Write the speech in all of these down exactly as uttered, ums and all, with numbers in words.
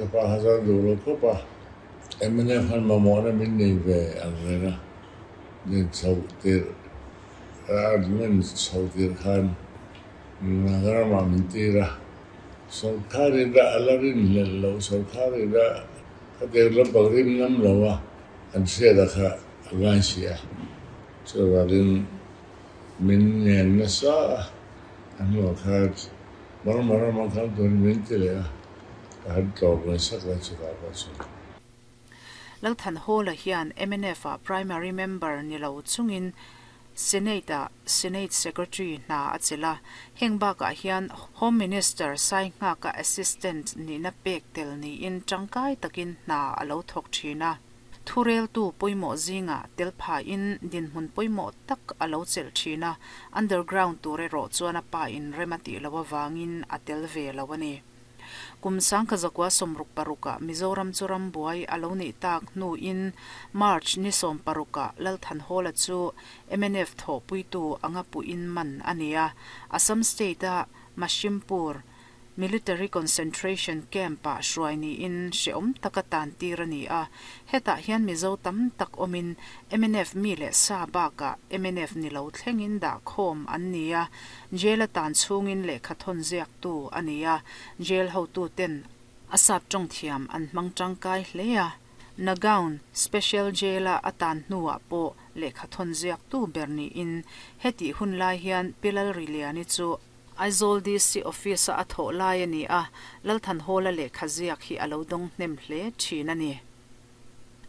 Ka pa kha chuan duh lo khawp a, M N F khan mamawhna min nei ve ang reng a, din chhoh tirh argument chho tir khan ramah min tir a, sorkarin a la rinhlelh loh, sorkarin a khatiang lampang rim ngam lo a an hriat a kha a ngai si a, chuvangin min ngen nasa a, a hnuah khan Burma ramah khan turin min ti leh a, ka han tlawm ngai sak lai chutah pawh chuan. Lalthanhawla hian M N F a primary member ni lo chungin Senate a Senate Secretary hna a chela heng bakah hian Home Minister Sainghaka assistant nihna pek tel niin tangkai takin hna a lo thawk thin a. Thurel tu pawimawh zinga tel pha in dinhmun pawimawh tak a lo chelh thin a, underground tur erawh chuan a pa in rem a tih lo awangin a tel ve lo ani. Kum sangkhat zakua sawmruk paruka Mizoram chu rambuai a lo nih tak hnu in March ni sawm paruka Lalthanhawla chu M N F thawhpuitu anga pu in man ani a, Assam State a Mashimpur Military Concentration Camp ah hruai niin hreawm taka tan tir ani a. Hetah hian Mizo tam tak awmin M N F mi leh sa bakah M N F ni lo thlengin dah khawm an ni a. Jail a tan chhungin lehkha thawn ziak tu ani a, jail hotu ten a sap tawng thiam an hmang tangkai hle a. Nagaon Special Jail a atan hnuah pawh lehkha thawn ziak tu ber niin heti hun lai hian Pilal Riliani chu Aizawl D C Office a thawh lai ani a, Lalthanhawla lehkha ziak hi a lo dawng hnem hle thin ani.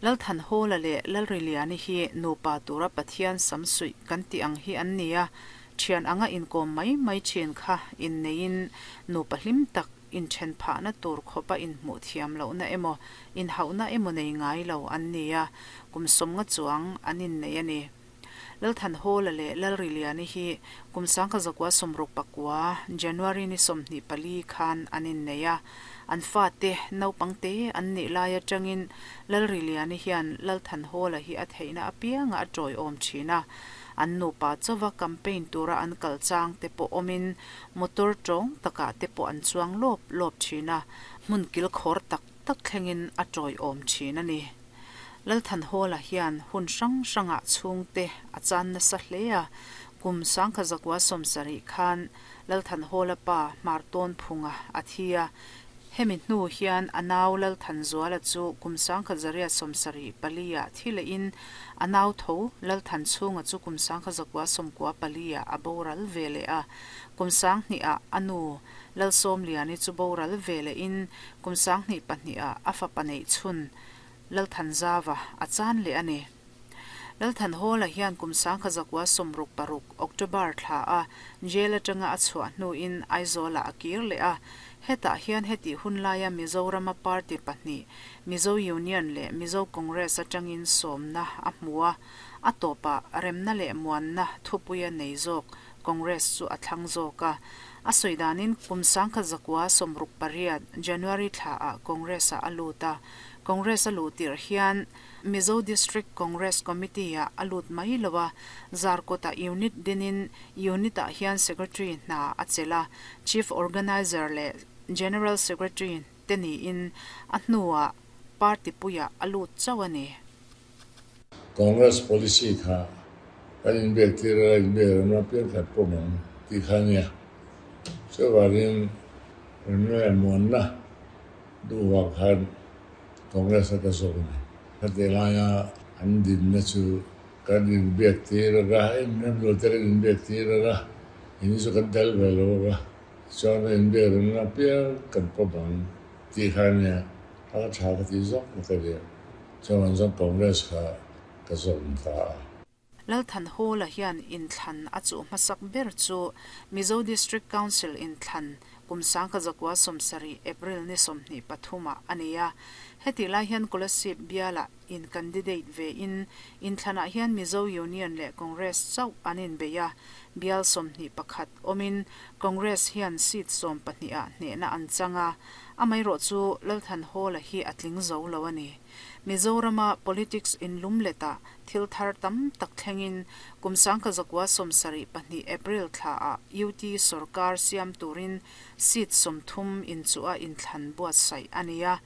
Lalthanhawla leh Lalriliani hi nupa tura Pathian samsuih kan ti ang hi an ni a, thian anga inkawm mai mai thin kha in neiin nupa hlim tak in then phahna tur khawpa in hmuh thiam lohna emaw in hauhna emaw nei ngai lo an ni a, kum sawmnga chuang an in nei ani. Lalthanhawla leh Lalriliani hi kum sangkhat zakua sawmruk pakua January ni sawmhnih pali khan an in nei a. An fa te naupang te an nih lai atangin Lalriliani hian Lalthanhawla hi a theihna apianga a tawiawm thin a. An nupa chawa campaign tura an kal chang te pawh awmin motor tawng takah te pawh an chuang lawp lawp thin a, hmun kil khawr tak tak thlengin a tawiawm thin ani. Lalthanhawla hian hun hrang hrangah chhungte a chan nasa hle a. Kum sangkhat zakua sawmsarih khan Lalthanhawla pa Hmartawn phunga a thi a. Hemi hnu hian a nau Lalthanzuala chu kum sangkhat zariat sawmsarih pali ah thi leh in a nau tho Lalthanchhunga chu kum sangkhat zakua sawmkua pali ah a boral ve leh a. Kum sanghnih ah a nu Lalsawmliani chu boral ve leh in kum sanghnih pahnih ah a fapa neih chhun Lalthanzawa a chan leh ani. Lalthanhawla hian kum sangkhat zakua sawmruk paruk October thla a jail atanga a chhuah hnu in Aizawla a kir leh a. Hetah hian heti hun laia Mizorama party pahnih Mizo Union leh Mizo Congress atangin sawmna a hmu a, a tawpah remna leh muanna thupuia nei zawk Congress chu a thlang zawk a. A sawidanin kum sangkhat zakua sawmruk pariat January thla ah Congress a a lut a. Congress a luh tirh hian Mizo District Congress Committee ah a lut mai lo a, Zarkawta unit dinin unit ah hian secretary hna a chelh a, chief organizer leh general secretary te niin a hnuah party puiah a lut chauh ani. Congress policy kha kan inbiak tir a, inbiak remna piang khat pawh mang ti kha nia. Chuvangin remna leh muanna duhah khan Congress a ka zawk ani. Khati laia an dinna chu kan inbiak tir a, em lo te kan inbiak tir a, ini chu kan tel ve lo a, chuan inbiak remna piang kan pawh mang ti kha nia. A ka tha ka ti zawk ka nia. Chuan zawng Congress kha ka zawk ta a. Lalthanhawla hian inthlan a chu hmasak ber chu Mizo District Council inthlan kum sangkhat zakua sawmsarih April ni sawmhnih pathuma ani a. Heti lai hian Kolasib biala in candidate ve in inthlanah hian Mizo Union leh Congress chauh an inbei a. Bial sawmhnih pakhat awmin Congress hian seat sawm pahnih ah hnehna an chang a. Amaherawh chu Lalthanhawla hi a tling zo lo ani. Mizorama politics in lum leta thil thar tam tak thlengin kum sangkhat zakua sawmsarih pahnih April thla ah U T sarkar siam turin seat sawmthum in chu a inthlan buatsaih ani a.